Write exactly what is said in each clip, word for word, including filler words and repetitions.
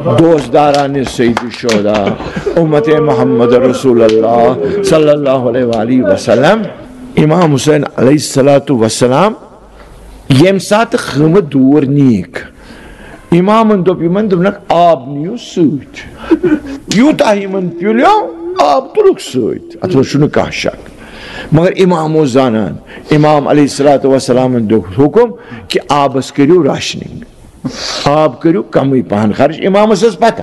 دوستداران سید الشہداء، امت محمد رسول اللہ صلی اللہ علیہ وآلہ وسلم، امام حسین علیہ الصلوۃ والسلام، ییٚمہِ ساتہٕ خۭمہٕ دوٗر نیٖکھ، امامن دوٚپ یِمن، دوٚپنکھ، "آب نِیِو سۭتۍ۔" یوٗتاہ یِمن پیوٚلیو، آب تُلُکھ سۭتۍ، اتھ منٛز چھُنہٕ کانٛہہ شک۔ مگر امام اوس زانان، امام علیہ الصلوۃ والسلامن دیُت حُکم کہِ آبس کٔرِو راشننگ۔ آب کٔرِو کمٕے پہن خرٕچ۔ امامس ٲس پتہ،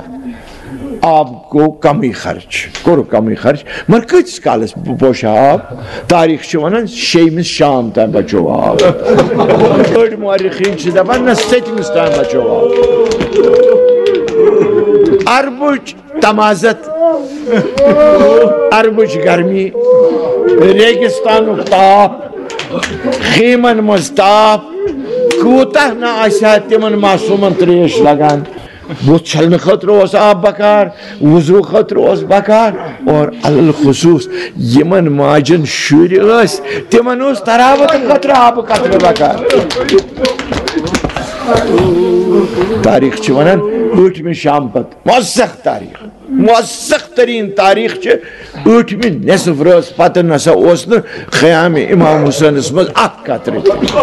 آب گوٚو کمٕے خرٕچ، کوٚر کمٕے خرٕچ، مگر کۭتِس کالس پوشہِ ہا آب؟ تاریخ چھِ ونان، شیٚیمِس شام تام بچو آب۔ أڑۍ مورخین چھِ دپان، نہ، سٔتمِس تام بچو آب۔ عربٕچ تمازت، عربٕچ گرمی، ریگستانُک تاپھ، خیمن منٛز تاپھ، کوٗتاہ نہ آسہِ ہا تِمن معصوٗمن ترٛیش لگان۔ بُتھ چھلنہٕ خٲطرٕ اوس آب بکار، وضوٗ خٲطرٕ اوس بکار، اور علی الخصوص یِمن ماجن شُرۍ ٲسۍ، تِمن اوس تراوت خٲطرٕ آبہٕ قطرٕ بکار۔ تاریخ چھِ ونان، ٲٹھمہِ شام پتہٕ، موثق تاریخ، موثق ترین تاریخ چھِ، ٲٹھمہِ نصف رٲژ پتہٕ نسا اوس نہٕ خیام امام حسینس منٛز اکھ قطرٕ تہِ۔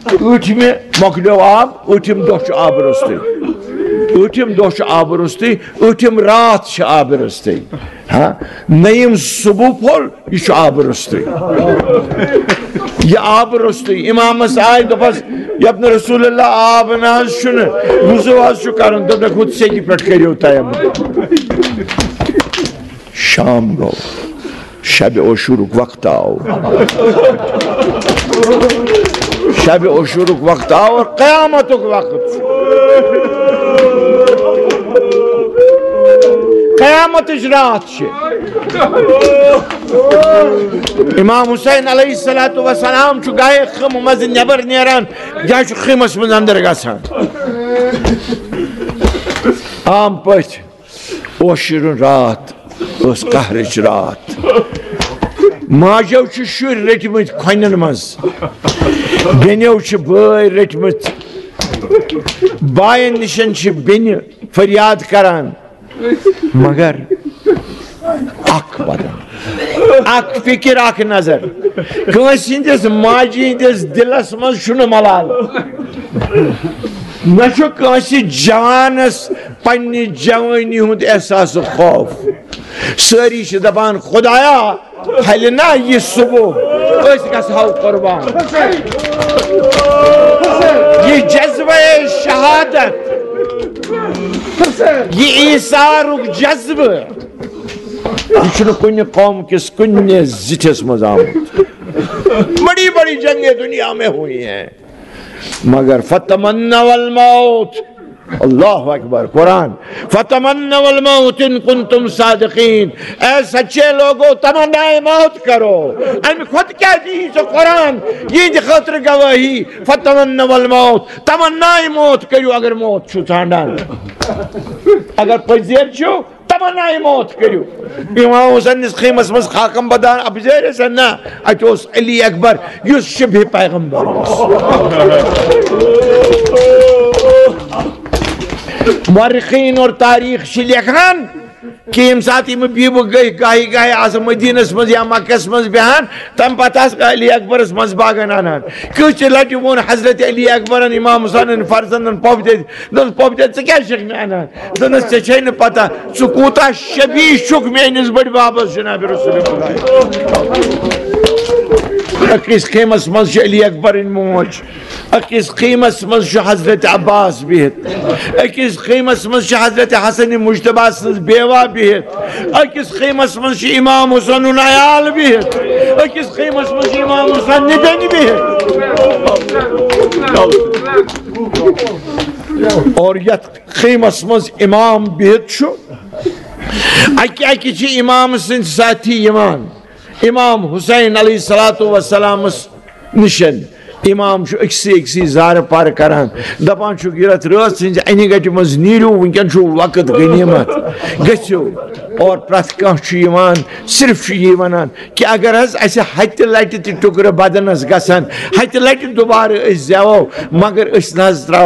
ٲٹھمہِ مۄکلیو آب، ٲٹھِم دۄہ چھُ آبہٕ روٚستُے، ٲٹھِم دۄہ چھُ آبہٕ روٚستُے، ٲٹھِم راتھ چھِ آبہٕ روٚستُے۔ ہاں، نٔیِم صبح پھوٚل، یہِ چھُ آبہٕ روٚستُے۔ یہِ آبہٕ روٚستُے۔ امامس آے، دوٚپس، "یبن رسول اللہ، آب نہ حظ چھُنہٕ، وضوٗ حظ چھُ کرُن۔" دوٚپنکھ، "ہُتھ سیٚکہِ پٮ۪ٹھ کٔرِو تیمم۔" شام گوٚو، شب عاشورُک وقت آو۔ شب عاشورُک وقت آو اور قیامتُک وقت۔ قیامتٕچ راتھ چھِ۔ امام حسین علیہ الصلوۃ والسلام چھُ گاہے خیمہٕ منٛز نٮ۪بر نیران، یا چھُ خیمس منٛز اندر گژھان۔ عام پٲٹھۍ اوس شیرُن راتھ، ٲس قہرٕچ راتھ۔ ماجیو چھِ شُرۍ رٔٹمٕتۍ کھۄنٮ۪ن منٛز، بیٚنیو چھِ بٲے رٔٹمٕتۍ، باین نِشن چھِ بیٚنہِ فریاد کران۔ مگر اکھ بدن، اکھ فکر، اکھ نظر۔ کٲنٛسہِ ہٕنٛدِس ماجہِ ہٕنٛدِس دِلس منٛز چھُنہٕ ملال، نہ چھُ کٲنٛسہِ جوانس پننہِ جوٲنی ہُنٛد احساس و خوف۔ سٲری چھِ دپان، "خدایا، پھلہِ نا یہِ صبح، أسۍ گژھہو قربان۔" یہِ جذبہ شہادت، یہِ ایثارُک جذبہٕ، یہِ چھُنہٕ کُنہِ قوم کِس کُنہِ زِٹھِس منٛز آمُت۔ بڑی بڑی جنگیں دنیا میں ہوئی ہیں، مگر فتمنوا الموت، اللہ اکبر، قرآن، "فتمنوا الموت ان کنتم صادقین"۔ اے سچے لوگو، تمنائے موت کرو۔ امہِ کھۄتہٕ کیٛاہ دِیہِ ژےٚ قرآن یِہنٛدِ خٲطرٕ گوٲہی؟ "فتمنوا الموت"، تمنائے موت کٔرِو اگر موت چھُو ژھانڈان۔ اگر پٔزۍ چھِو، تمنائے موت کٔرِو۔ امام حسینس خیمس منٛز خاکم بدان اپزٲرۍ ٲسۍ نہ، اتہِ اوس علی اکبر، یُس شبہ پیغمبر اوس۔ مورخین اور تاریخ چھِ لیکھان کہ ییٚمہِ ساتہٕ یِم بیبہٕ گٔے گاہی گاہی آسہٕ مدینس منٛز یا مکس منٛز بیہان، تمہِ پتہٕ آسہٕ علی اکبرس منٛز باغن انان۔ کۭژِ لٹہِ ووٚن حضرت علی اکبرن امام حسینن فرزندن پۄپھ دِتھ، دوٚپُس، "پۄپھ دِتھ، ژٕ کیٛازِ چھکھ مےٚ انان؟" دوٚپنس، "ژےٚ چھے نہٕ پتہ، ژٕ کوٗتاہ شبیہ چھُکھ میٲنِس بٔڈۍ ببس جناب رسول خدا۔ أکِس خیمس منٛز چھِ علی اکبرٕنۍ موج، أکِس خیمس منٛز چھُ حضرت عباس بِہِتھ، أکِس خیمس منٛز چھِ حضرت حسن مجتبیٰ سٕنٛز بیوہ بِہِتھ، أکِس خیمس منٛز چھِ امام حسن عیال بِہِتھ، أکِس خیمس منٛز چھِ امام حسن نِدنۍ بِہِتھ۔" اور یتھ خیمس منٛز امام بِہِتھ چھُ، اکہِ اکہِ چھِ امام سٕنٛدۍ ساتھی یِوان امام حسین علیہ الصلوۃ والسلامس نِشن۔ امام چھُ أکسٕے أکسٕے زارٕ پارٕ کران، دپان چھُکھ، "یہِ راتھ رٲژ ہٕنٛزِ انہِ گٹہِ منٛز نیٖرِو، وٕنکٮ۪ن چھُو وقت غنیمت، گٔژھِو۔" اور پرٛٮ۪تھ کانٛہہ چھُ یِوان، صرف چھُ یی ونان، کہ اگر حظ اسہِ ہتہِ لٹہِ تہِ ٹُکرٕ بدنس گژھن، ہتہِ لٹہِ دوبارٕ أسۍ زیوو، مگر أسۍ نہ حظ تراوو